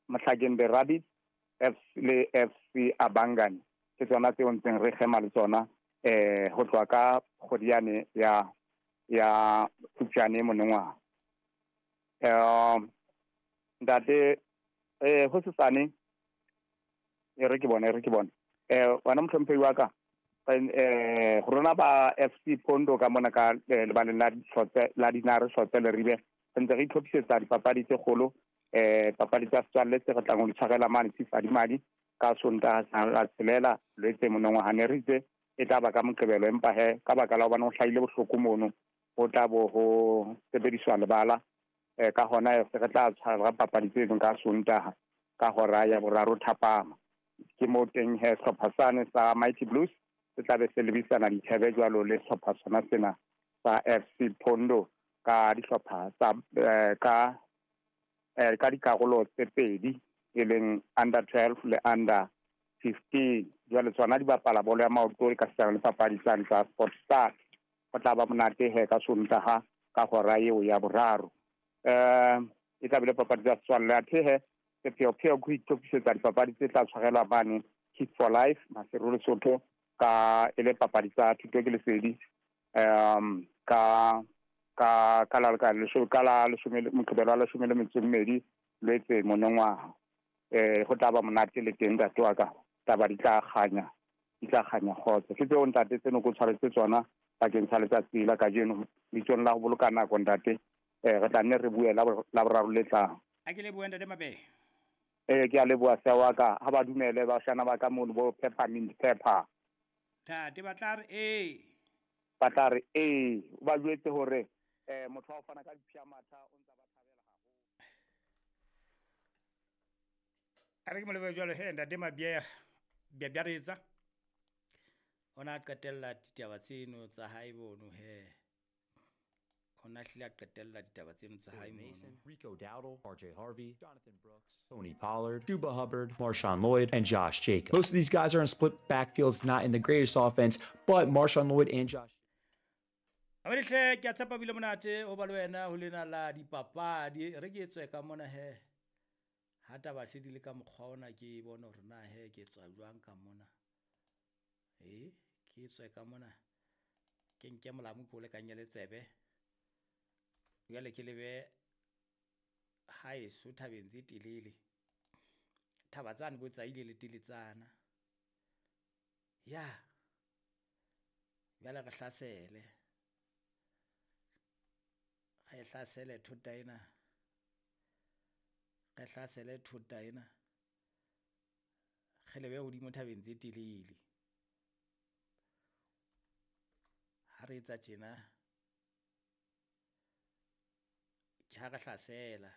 Mohlakeng The Rabbits FC le FC Abangani ke tsona tseo ntseng re kgema le tsona ho tloha ka kgwedi yane ya ya Phupjane monongwaha. Ntate ho sesane e re ke bone e re ke bone wena mohlomphehi wa ka rona ba FC Pondo ka mona ka lebaleng la Hlotse la Dinare Hlotse Leribe re ntse re itlhophisetsa dipapadi tse kgolo papadi tsa setswalle tse re tlang ho di tshwarela mane Tsifadimadi ka Sontaha la tshelela Lwetse monongwaha. Ne re itse e tla ba ka Moqebelo, empa he ka baka la hobane ho hlahile bohloko mono ho tla bo ho sebediswa lebala ka hona se re tla tshwara papadi tseno ka Sontaha ka hora ya boraro thapama. Ke mo teng he sehlopha sane sa Mighty Blues se tla be se lebisana dithebe jwalo le sehlopha sona sena sa FC Pondo ka dihlopha tsa ka dikarolo tse pedi e leng under 12 le under 15. Jwale tsona di bapala bolo ya maoto ka setsana le papadi tsane tsa Sport Star. Ho tla ba monate he ka Sontaha ka hora eo ya boraro. E tla be le papadi tsa setswalle athe he sepheo-pheo ke ho itlhophisetsa dipapadi tse tla tshwarelwa mane Kick for Life Maseru Lesotho ka e le papadi tsa thuto ke lesedi ka ka ka la ka lesho ka la leshome Moqebelo wa leshome le metso e mmedi Lwetse monongwaha. Ho tla ba monate le teng ntate wa ka, taba di tla kganya, di tla kganya kgotso. Ke tseo ntate tseno ko tshwaretse tsona bakeng sa letsatsi la kajeno bitsong la ho boloka nako ntate. Re tla nne re bue la boraro le tlang. A ke lebohe ntate Mabehe. Ke a leboha sia wa ka. Ha ba dumele bashana ba ka mono bo peppermint pepper. Ntate ba tla re ee. Ba tla re ee. O ba jwetse hore motho wa ho fana ka diphiamatha o ntsa ba thabela haholo. A re ke mo lebohe jwalo he ntate Mabehe Bjabjaretsa. O na qetella ditaba tseno tsa hae bono he. O na hlile a qetella ditaba tseno tsa hae mono. Mason, Rico Dowdle, RJ Harvey, Jonathan Brooks, Tony Pollard, Chuba Hubbard, Marshawn Lloyd, and Josh Jacobs. Most of these guys are in split backfields, not in the greatest offense, but Marshawn Lloyd and Josh. Amadihle ke a tshepa bile monate ho ba le wena ho lena la dipapadi. Re ke tswe ka mona he. Ha taba se di le ka mokgwa ona ke bone hore na he ke tswa jwang ka mona. Ke tswe ka mona. Ke nke molamu ke o lekanye le tsebe. Jwale ke lebe haeso thabeng tse telele. Thaba tsane bo tsaile le teletsana. Ya. Jwale re hlasele. Re hlasele thota ena. Re hlasele thota ena. Re lebe hodimo thabeng tse telele. Ha re etsa tjena ke ha re hlasela.